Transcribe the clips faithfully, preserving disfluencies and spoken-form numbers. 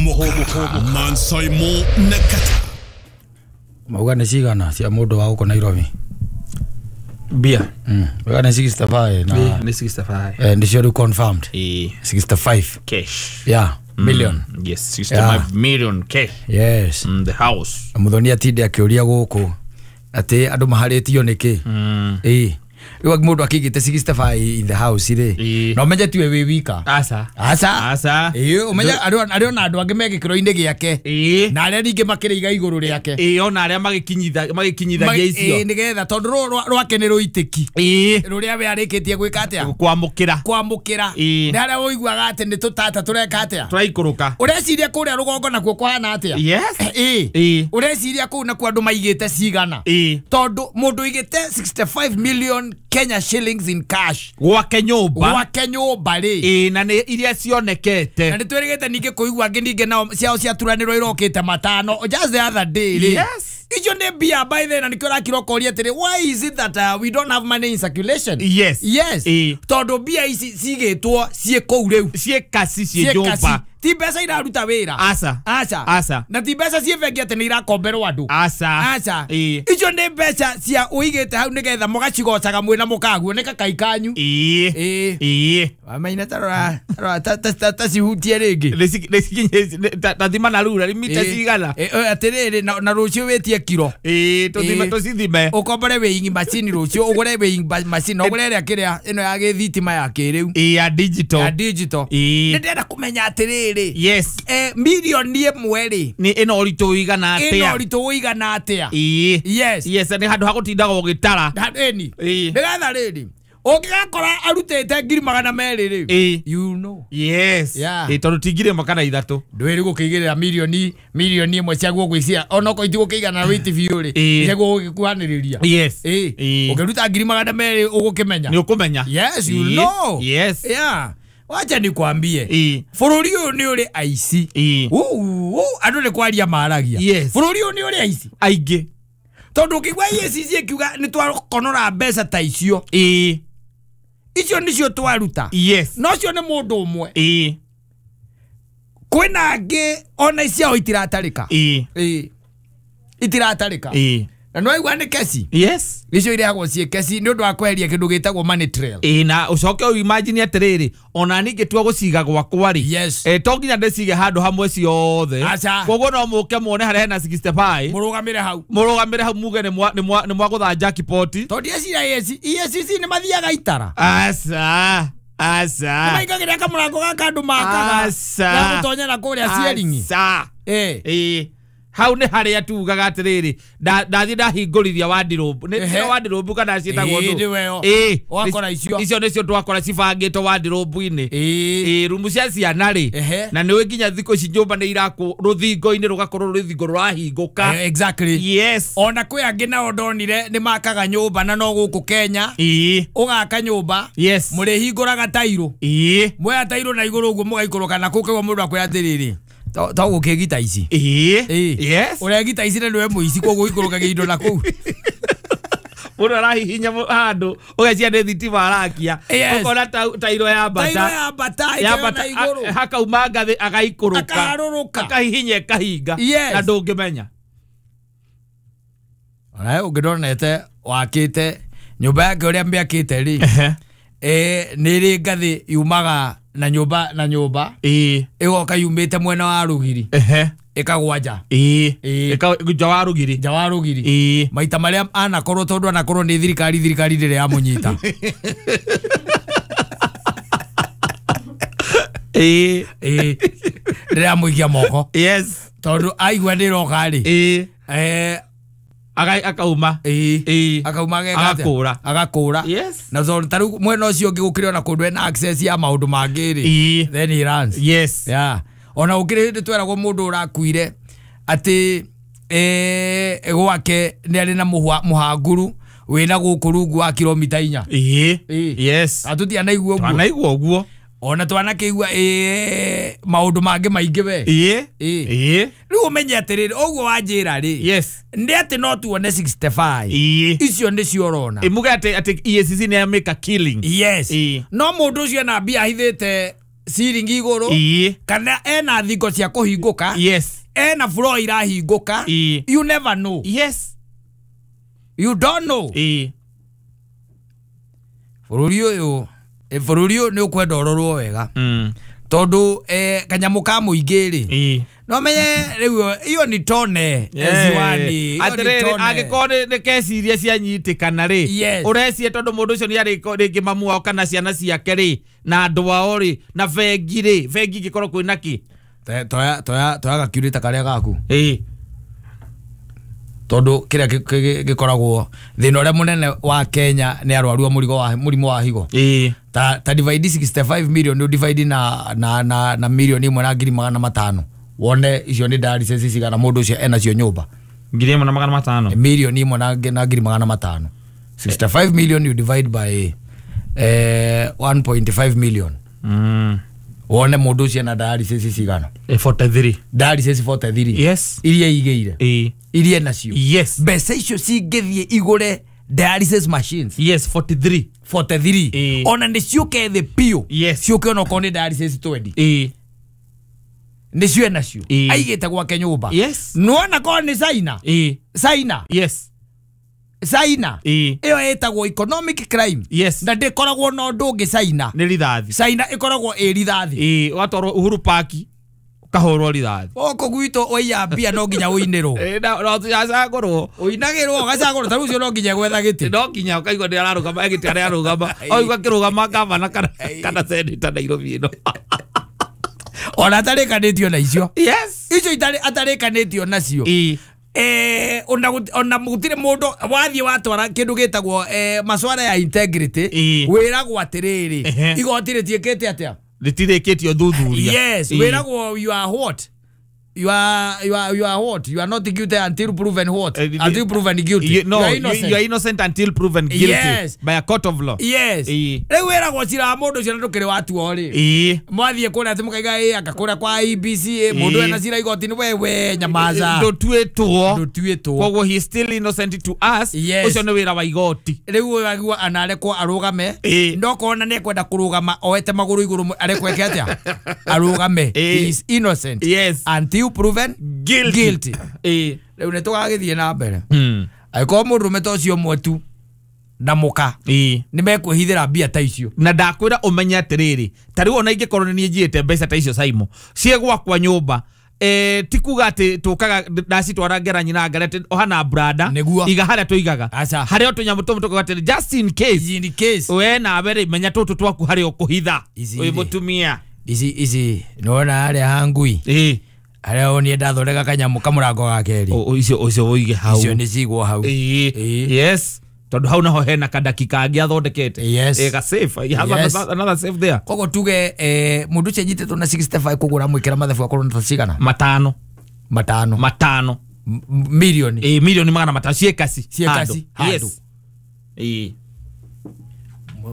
Hũmũka Mansaimo na Kata. Mauga nĩ cigana cia mũndũ wa gũkũ Nairobi? Bia. Mm. Mauga nĩ sixty-five na nĩ sixty-five. Eh, nĩcio rĩu confirmed. Eh, sixty-five cash. Yeah, million. Mm, yes, sixty-five yeah. million cash. Yes. Mm, the house. Muthoni atinde akĩũria gũkũ atĩ andũ maharĩtio nĩkĩ? Mm. Eh. Rĩu mũndũ akĩigĩte sixty-five in the house rĩ. Na ũmenye tiwe wĩ wika. Asa. Asa. Asa. Ĩĩ, ũmenye arĩ ona andũ angĩ me gĩkĩro-inĩ gĩake. Ĩĩ. Na arĩa ningĩ makĩrĩiga igũrũ rĩake. Ĩĩ, ona arĩa magĩkinyitha magĩkinyithagia icio. Ĩĩ, nĩgetha tondũ rwake nĩ rũitĩki. Ĩĩ. Rũrĩa we arĩkĩtie gwĩka atĩa? Kwamũkĩra. Kwamũkĩra. Ĩĩ. Nĩ harĩa ũiguaga atĩ nĩ tũtata tũreka atĩa? Tũraikũrũka. Ũreciria kũrĩa rũgongo nakuo kũhana atĩa? Yes. Ĩĩ. Ĩĩ. Ũreciria kũu nakuo andũ maigĩte cigana? Ĩĩ. Tondũ mũndũ ũigĩte sixty-five million Kenya shillings in cash gwake nyũmba, gwake nyũmba rĩ. Ĩĩ, na nĩ iria cionekete. Na nĩ twĩrĩgĩte ningĩ kũigua angĩ ningĩ nao ciao ciaturanĩrwo irokĩte matano just the other day rĩ. Yes. Icio nĩ mbia by then, na nĩkĩo ũrakira ũkoria atĩrĩ, why is it that uh, we don't have money in circulation? Yes. Yes. Ĩĩ. Tondũ mbia ici cigĩtwo ciĩ kũu rĩu, ciĩ kasi, ciĩ nyũmba, ti mbeca iraruta wĩra. Asa. Aca. Asa. Na ti mbeca ciĩ bengi atĩ nĩ irakomberwo andũ. Asa. Aca. Ĩĩ. Icio nĩ mbeca cia ũigĩte hau nĩgetha mũgacigocaga mwĩna mũkaguo nĩ kakai kanyu. Ĩĩ. Ĩĩ. Ĩĩ. Wamaina tarora tarora ta cihutie rĩngĩ. Nĩ ta thima na rura mita cigana. Atĩrĩrĩ, na rũciũ wĩtie kiro. Ĩĩ, tũthime tũcithime. Ũkombore weighing machine rũciũ, ũgũre weighing machine, ũgũre ĩrĩa kĩrĩa ĩno ya gĩthitima ya kĩrĩu. Ĩĩ, ya digital. Ya digital. Ĩĩ. Nĩ ndĩrenda kũmenya atĩrĩrĩ. Yes. Eh, milioni ĩmwe rĩ nĩ ĩno ũritũ ũigana atĩa? Ĩno ũritũ ũigana atĩa? Ĩĩ. Yes. Yes, nĩ handũ ha gũtindaga ũgĩtara. Ĩni. Ĩĩ. Nĩgetha rĩrĩ ũngĩgakora arutĩte ngiri magana merĩ rĩ. Ĩĩ. You know. Yes. Yeah. Ĩĩ, tondũ ti ngiri ĩmwe kana ithatũ. Ndwĩrĩ gũkĩigĩrĩra milioni milioni ĩmwe ciaguo gwĩcia onokorwo itigũkĩigana na wĩiti biũ rĩ. Ĩĩ. Ciaguo gũgĩkuhanĩrĩria. Yes. Ĩĩ. Ĩĩ. Ũngĩruta ngiri magana merĩ ũgũkĩmenya. Nĩ ũkũmenya. Yes, you know. Yes. Yeah. Wacha nikwambie. Ĩĩ. Bũrũri ũyũ nĩ ũrĩ aici. Ĩĩ. Uu, andũ nĩ kwaria maragia. Yes. Bũrũri ũyũ nĩ ũrĩ aici. Aingĩ. Tondũ ũkĩigua E A C C ĩkiuga nĩ twakonora mbeca ta icio. Ĩĩ. Icio nĩcio twaruta. Yes. No cio nĩ mũndũ ũmwe. Ĩĩ. Kwĩna angĩ ona ciao itiratarĩka. Ĩĩ. Ĩĩ. Itiratarĩka. Ĩĩ. Na nĩ waigua nĩ keci. Yes. Icio irehagwo ciĩ keci nĩ ũndũ wa kweheria kĩndũ gĩtagwo money trail. Ĩĩ, na ũcoke ũ imagine atĩrĩrĩ, ona niĩ ngĩtua gũciga gwakwa rĩ. Yes. Eh, to nginya ndĩcige handũ hamwe ciothe. Aca. Koguo no mũke muone harĩa hena sixty-five. Mũrũgamĩre hau. Mũrũgamĩre hau muge nĩ mwa nĩ mwagũtha jackpot. Tondũ ndĩreciria E A C C nĩ mathiaga itara. Aca. Aca. Nĩmaingagĩrĩra kamũrango gaka andũ makaga. Aca. Ga gũtonyera kũrĩa ceiling. Aca. Ĩĩ. Ĩĩ. Hau nĩ harĩa tugaga atĩrĩrĩ, ndathiĩ ndahingũrithia wardrobe. Nĩ wardrobe kana ciĩtagwo ndũ? Ĩĩ, wakora icio. Icio nĩcio twakora cibangĩtwo wardrobe-inĩ. Ĩĩ. Ĩĩ, rumu cia ciana rĩ. Na nĩũĩ nginya thikũ ici nyũmba nĩ irakwo rũthingo-inĩ rũgakorwo rũthingo rũrahingũka. Exactly. Yes. Ona kwĩ angĩ nao ndonire nĩ makaga nyũmba na no gũkũ Kenya. Ĩĩ. Ũgaka nyũmba. Yes. Mũrĩhingũraga tairũ. Ĩĩ. Mwoya tairũ na igũrũ ũguo mũgaikũrũka na kũu kũigua mũndũ akwĩra atĩrĩrĩ, to gũkĩgita ici. Ĩĩ. Yes. Ũregita ici na nĩwe mũici koguo ũikũrũkagia indo na kũu. Mũndũ arahihinya handũ ũgeciria nĩ thitima arakia. Yes. Ũkona tairo ya mbata. Tairo ya mbata ĩkĩoya na igũrũ. Hakauma ngathĩ agaikũrũka. Akaharũrũka. Akahihinya ĩkahinga. Yes. Na ndũngĩmenya. Onawe ũngĩndonete wakĩte nyũmba yake ũrĩa mĩakĩte rĩ. Eh, nĩ ĩrĩ ngathĩ yumaga na nyũmba na nyũmba. Ĩĩ. Ĩgoka yumĩte mwena wa rũgiri. Ehe. Ĩkagwa nja. Ĩĩ. Ĩkagwa nja wa rũgiri. Nja wa rũgiri. Ĩĩ. Maita marĩa anakorwo tondũ anakorwo nĩ thirikari, thirikari ndĩrĩ yamũnyita. Ĩĩ. Ĩĩ. Ndĩrĩ yamũikia moko. Yes. Tondũ aigua nĩ ĩroka rĩ. Ĩĩ. Eh, akauma. Ĩĩ. Akauma ageka atĩa? Agakũra. Agakũra. Yes. Na tondũ ta rĩu mwena ũcio ũngĩ gũkĩrĩ ona kũndũ ena access ya maũndũ mangĩ rĩ. Ĩĩ. Then he runs. Yes. Yeah. Ona gũkĩrĩ hĩndĩ tweragwo mũndũ ũrakuire atĩ eh, gwake nĩ arĩ na mũhanguru wĩna gũkũ rungu wa kilomita inya. Ĩĩ. Yes. Atũtianaigua ũguo. Twanaigua ũguo. Ona twanakĩigua ĩĩ maũndũ mangĩ maingĩ we. Ĩĩ. Ĩĩ. Rĩu ũmenye atĩrĩrĩ, ũguo wanjĩra rĩ. Yes. Nĩ atĩ no tuone sixty-five. Ĩĩ. Icio nĩcio ũrona. Ĩ muge atĩ atĩ E A C C nĩ ya make a killing. Yes. Ĩĩ. No mũndũ ũcio ena mbia ahithĩte Ciringi igũrũ Ĩĩ. kana ena thingo cia kũhingũka. Yes. Ena floor irahingũka. Ĩĩ. You never know. Yes. You don't know. Ĩĩ. Bũrũri ũyũ eh, bũrũri ũyũ nĩ ũkwenda ũrorwo wega Mm. tondũ eh, kanyamũ ka mũingĩ rĩ Ĩĩ. no menye rĩu iyo ni tone ziwani iyo ni Atĩrĩrĩ tone. angĩkorwo nĩ nĩ kesi iria cianyitĩkana rĩ Yes. ũreciria tondũ mũndũ ũcio nĩ arĩ rĩngĩ mamu wao kana ciana ciake rĩ na andũ ao rĩ na bengi rĩ bengi ingĩkorwo kwĩna kĩ Toya- toya toya toya gakiurĩta karĩa gaku Ĩĩ. tondũ kĩrĩa gĩ- gĩ- gĩkoragwo thĩna ũrĩa mũnene wa Kenya nĩ arwaru a mũrigo wa mũrimũ wa higo Ĩĩ. ta ta divide sixty-five million nĩ divide na na na na milioni ĩmwe na ngiri magana matano wone icio nĩ dialysis cigana mũndũ ũcio enacio nyũmba Ngiri ĩmwe na magana matano milioni ĩmwe na na ngiri magana matano sixty-five million you divide by eh, one point five million Mm. wone mũndũ ũcio ena dialysis cigana Eh, forty-three. dialysis forty-three Yes. iria igĩire Ĩĩ. iria nacio Yes. mbeca icio cingĩthiĩ igũre dialysis machines Yes, forty-three. forty-three Ĩĩ. ona nĩ ciũke thĩ biũ Yes. ciũke onokorwo nĩ dialysis twenty Ĩĩ. nĩ cio enacio Ĩĩ. aigĩte gwake nyũmba Yes. nĩwona korwo nĩ China Ĩĩ. China Yes. China Ĩĩ. ĩyo ĩtagwo economic crime Yes. na ndĩkoragwo na ũndũ ũngĩ China Nĩ rithathi. China ĩkoragwo ĩ rithathi Ĩĩ, ũgatwarwo Uhuru Park ũkahũrwo rithathi. gũkũ gwitũ waiya mbia no nginya ũinĩrwo Ĩĩ, na na ũcagũrwo. ũinagĩrwo ũgacagũrwo ta rĩu ũcio no nginya gwetha gĩtĩ No nginya ũkaigua nĩ ararũgama egĩte arĩa arũgama oigua akĩrũgama gavana kana kana seneta Nairobi ĩno. ona atarĩkanĩtio na icio Yes. icio itarĩ atarĩkanĩtio nacio Ĩĩ. eh ona gut- ona gũtirĩ mũndũ wathiĩ watwara kĩndũ gĩtagwo eh, maswara ya integrity Ĩĩ. wĩragwo atĩrĩrĩ Ehe. igoti rĩtiĩkĩte atĩa Rĩtirĩkĩtie ũthuthuria. yes Ĩĩ. wĩragwo you are what you are you are you are what you are not guilty until proven what Eh, until proven guilty You, no, you are you, innocent you are innocent until proven guilty Yes. by a court of law. yes Ĩĩ. rĩu wĩragwo cira wa mũndũ ũcio na ndũkĩrĩ watuo rĩ Ĩĩ. mwathiĩ kũrĩa atĩ mũkaiga ĩ anga kũrĩa kwa I B C ĩ, mũndũ Ĩĩ. ena cira igoti-inĩ wewe nyamaza Ndũtuĩtwo. ndũtuĩtwo Koguo he is still innocent to us. Yes. Ũcio nĩ wĩra wa igoti. rĩu ũyũ agua anarekwo arũgame Ĩĩ. no kona nĩ ekwenda kũrũgama oete magũrũ igũrũ arekwo eke atĩa arũgame Ĩĩ. he is innocent Yes. until proven Guilty. guilty Ĩĩ. rĩu nĩ tũgagĩthiĩ na mbere Mm. angĩkorwo mũndũrũme ta ũcio ũmwe tu na mũka Ĩĩ. nĩ mekwĩhithĩra mbia ta icio Na ndakwĩra ũmenye atĩrĩrĩ ta rĩu ona ingĩkorwo nĩ niĩ njiyĩte mbeca ta icio Saimo ciĩ gwakwa nyũmba eh, ti kuga atĩ tũkaga ndacitwara ngera nyina ngara atĩ oha na brada Nĩguo. iga harĩa tũigaga Aca. harĩa o tũnyamũ tũmwe tũkauga atĩrĩ just in case in case we nawe rĩ menya tũtũ twaku harĩa ũkũhitha Ici wĩ rĩ. mũtumia ici ici nĩwona harĩa ha ngui Ĩĩ. harĩa wonie ndathondeka kanyamũ kamũrango ga kerĩ O- o- icio ũcio ũige hau icio nĩ cigwo hau Ĩĩ. Ĩĩ. Yes tondũ hau naho hena kadakika angĩ athondekete Yes. Ĩ, ga safe. He has Yes. another, another safe there koguo tuge eh, mũndũ ũcio anyitĩtwo na sixty-five koguo ũramwĩkĩra mathabu akorwo nĩ ta cigana matano matano matano M- m- milioni Ĩ, milioni magana matano ciĩkaci Ciĩkaci, Handũ. handũ. Yes. Ĩ.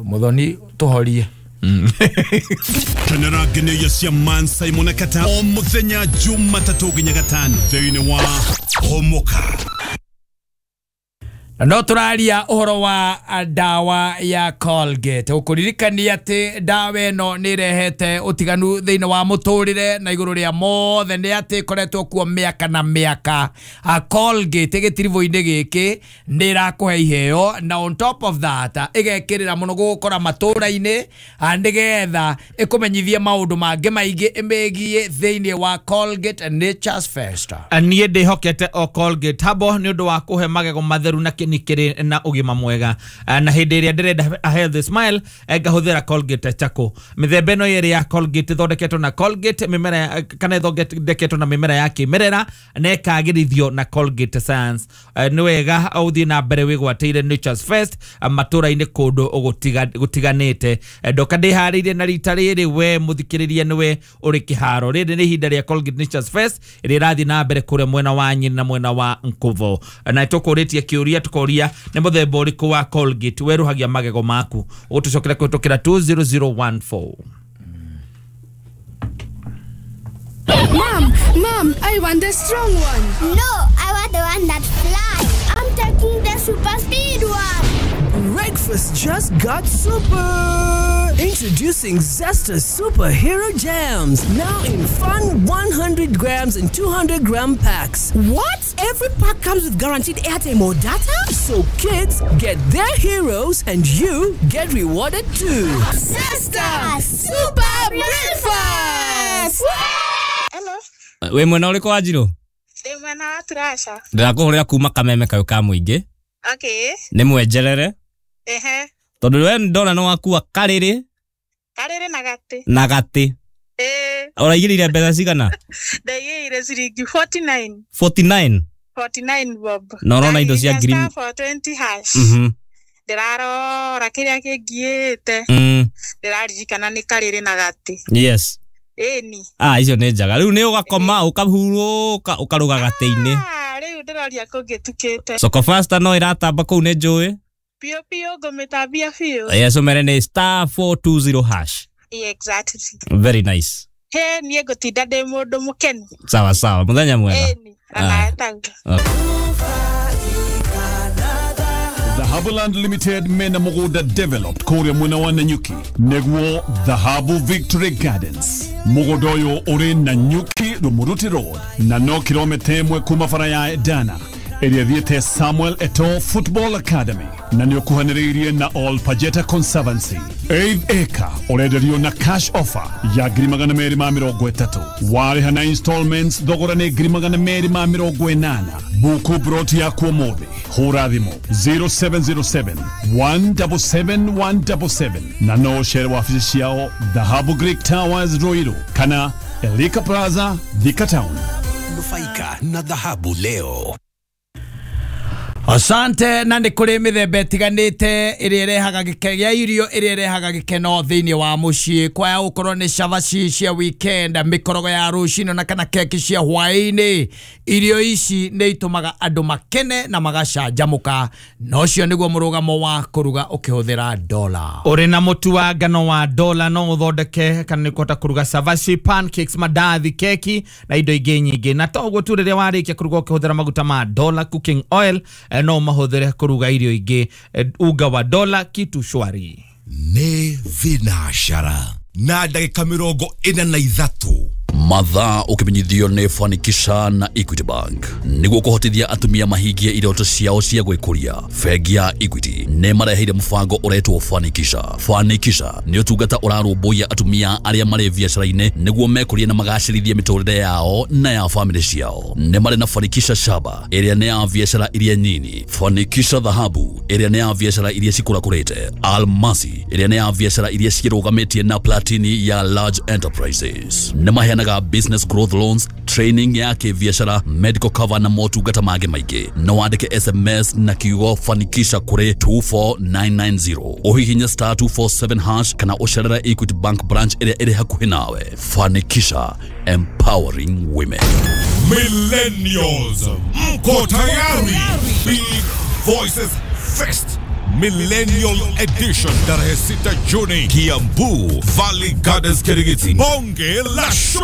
Muthoni tũhorie Kenera ngeneia cia Man Simon Kata o muthenya Jumatatũ nginya gatano thĩinĩ wa Homoka. Na no tũraria ũhoro wa ndawa ya Colgate ũkũririkania atĩ ndawa ĩno nĩ ĩrehete ũtiganu thĩinĩ wa mũtũrĩre na igũrũ rĩa mothe nĩ atĩ ĩkoretwo kuo mĩaka na mĩaka. A Colgate gĩtiribũ-inĩ gĩkĩ nĩ ĩrakũhe iheo na on top of that ĩgekĩrĩra mũno gũgũkora matũra-inĩ nĩgetha ĩkũmenyithie maũndũ mangĩ maingĩ ĩmegiĩ thĩinĩ wa Colgate Nature's Fest. Niĩ ndĩhokete o Colgate habo nĩ ũndũ wa kũhe magego matheru na kĩni kĩrĩ na ũgima mwega. Na hĩndĩ ĩrĩa ndĩrenda a healthy smile ngahũthĩra Colgate Charcoal. Mĩthemba ĩno yerĩ ya Colgate ĩthondeketwo na Colgate mĩmera kana ĩthondeketwo na mĩmera ya kĩmerera na ĩkagĩrithio na Colgate Science. Nĩ wega ũthiĩ na mbere wĩgwatĩire Nature's Fest matũra-inĩ kũndũ gũtiganĩte. Ndoka ndĩharĩirie na rita rĩrĩ we mũthikĩrĩria nĩwe ũrĩ kĩharo. Rĩrĩ nĩ ihinda rĩa Colgate Nature's Fest ĩrĩa ĩrathiĩ na mbere kũrĩa mwena wa Nyeri na mwena wa Nkuvo. Na tũkũrĩtie kĩũria tũkoria nĩ mũthemba ũrĩkũ wa Colgate werũhagia magego maku. Ũgũtũcokera kũhĩtũkĩra two zero zero one four. Mom, Mom, I want the strong one. No, I want the one that flies. I'm taking the super speed one. Breakfast. Breakfast just got super! Introducing Zesta Superhero Jams, now in fun one hundred grams and two hundred gram packs. What? Every pack comes with guaranteed airtime or data? So kids get their heroes and you get rewarded too. Zesta Super Breakfast! Hello. Wĩ mwena ũrĩkũ wa Njirũ? Ndĩ mwena wa Turasha. Ndĩrakũhũrĩra kuma kameme kayũ ka mũingĩ. Okay. Nĩ mwenjerere. Ehe. Tondũ we ndona nĩ wakua karĩrĩ. Karĩrĩ na gatĩ. Na gatĩ. Eh. Ũraigĩrĩire mbeca cigana? Ndaigĩrĩire ciringi forty-nine. forty-nine? forty-nine bob. Na ũrona indo cia ngiri four twenty hash. Mhm. Ndĩrarora kĩrĩa kĩngiĩte. Mm. Ndĩraririkana nĩ karĩrĩ na gatĩ. Yes. Ĩni. Ah, icio nĩ njega. Rĩu nĩ ũgakoma ũkahurũka ũkaruga gatĩ-inĩ. Ah, rĩu ndĩroria kũngĩtukĩte. Soko Fasta no ĩratamba kũu nĩ njũĩ. Biũ biũ ngũmĩtambia biũ. Yes, ũmere nĩ star four two zero hash. Exactly. Very nice. He, niĩ ngũtinda ndĩ mũndũ mũkenu. Sawa sawa, mũthenya mwega. Ĩni, onawe taguo. Dhahabuland Limited mena mũgũnda developed kũrĩa mwena wa Nanyuki nĩguo Dhahabu Victory Gardens. Mũgũnda ũyũ ũrĩ Nanyuki Rumuruti Road na no kilomita ĩmwe kuma bara ya Edana ĩrĩa ĩthiĩte Samuel Eto'o Football Academy na nĩ ũkuhanĩrĩirie na All Pajeta Conservancy. Eighth acre ũrenderio na cash offer ya ngiri magana merĩ ma mĩrongo ĩtatũ. Warĩha na installments thogora nĩ ngiri magana merĩ ma mĩrongo ĩnana. Buku broti yaku ũmũthĩ. Hũra thimũ zero seven zero seven one seven seven one seven seven na no ũcere wabici ciao Dhahabu Greek Towers Ruiru kana Elika Plaza Thika Town. Nufaika na Dhahabu leo. Asante na nĩ kũrĩ mĩthemba ĩtiganĩte ĩrĩa ĩrehaga gĩkeno ya irio ĩrĩa ĩrehaga gĩkeno thĩinĩ wa mũciĩ kwaya gũkorwo nĩ cabaci cia weekend, mĩkorogo ya rũcinĩ na kana keki cia hwaĩ-inĩ. Irio ici nĩ itũmaga andũ makene na magacanjamũka, na ũcio nĩguo mũrũgamo wa kũruga ũkĩhũthĩra dola. Ũrĩ na mũtu wa ngano wa dola no ũthondeke kana nĩ kũhota kũruga cabaci, pancakes, mandathi, keki na indo ingĩ nyingĩ. Na to ũguo tu, rĩrĩa warĩkia kũruga ũkĩhũthĩra maguta ma dola cooking oil no mahũthĩre kũruga irio ingĩ. Unga wa dola kitu shwari. Nĩ thinacara na ndagĩka mĩrongo ĩna na ithatũ. Mathaa ũkĩmenyithio nĩ Fanikisha na Equity Bank nĩguo kũhotithia atumia mahingie iroto ciao cia gwĩkũria. Bengi ya Equity nĩ mareheire mũbango ũretwo Fanikisha. Fanikisha nĩ ũtungata ũrarũmbũiya atumia arĩa marĩ biacara-inĩ nĩguo mekũrie na magacĩrithie mĩtũrĩre yao na ya famĩlĩ ciao. Nĩ marĩ na Fanikisha Shaba ĩrĩa nĩ ya biacara iria nyini, Fanikisha Dhahabu ĩrĩa nĩ ya biacara iria cikũrakũrĩte, Almasi ĩrĩa nĩ ya biacara iria cirũgamĩtie na Platini ya large enterprises. Nĩ maheanaga business growth loans, training ya kĩbiacara, medical cover na motungata mangĩ maingĩ. No wandĩke S M S na kiugo Fanikisha kũrĩ two four nine nine zero, ũhihinye star two four seven hash kana ũcerere Equity Bank branch ĩrĩa ĩrĩ hakuhĩ nawe. Fanikisha, empowering women. Millennials, mko tayari? Big Voices Fest Millennial Edition tarehe sita Juni, Kiambu Valley Gardens, Kirigiti. Bonge la show.